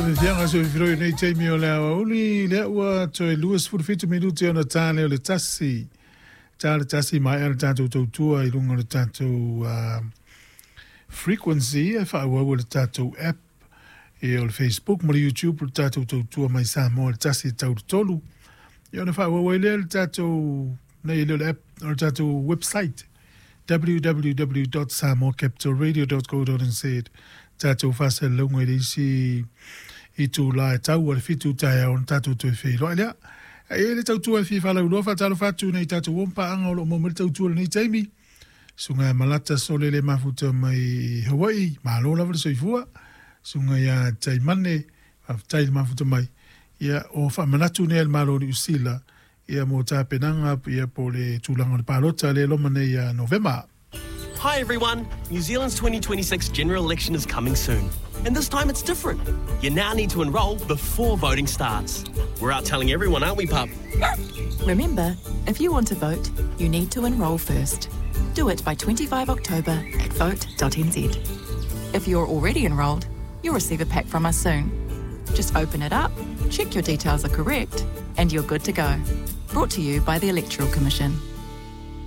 Fiafiaga soifiloi nei taimi o le aoauli lea ua toe 27 minute ona ta lea o le 1. Ta le 1 maea le tatou tautua i luga o le tatou frequency e faaauau e le tatou app ia o le Facebook ma le YouTube le tatou tautua mai Samoa le 1 e tau le 3. Ia ona faaauau ai lea le tatou nei le app o le tatou website www.samoacapitalradio.co.nz tatou faasalalauga i le isi itulā e tau a le 7 taeao ona tatou toe feiloai lea. E i ai le tautua e fia faalauiloa faatalofa atu nei tatou uo ma paaga o lo o maua mai le tautua i lenei taimi. Susuga ia Malata Sole le mafuta mai Hawaii, malo lava le soifua. Susuga ia Taimane, faafetai le mafuta mai. Ia, o faamanatu nei a le Malo o Niu Sila, ia mo tapenaga ia po o le tulaga o le palota lea e loma nei ia Novema. Hi everyone! New Zealand's 2026 general election is coming soon. And this time it's different. You now need to enrol before voting starts. We're out telling everyone, aren't we, pup? Remember, if you want to vote, you need to enrol first. Do it by 25 October at vote.nz. If you're already enrolled, you'll receive a pack from us soon. Just open it up, check your details are correct, and you're good to go. Brought to you by the Electoral Commission.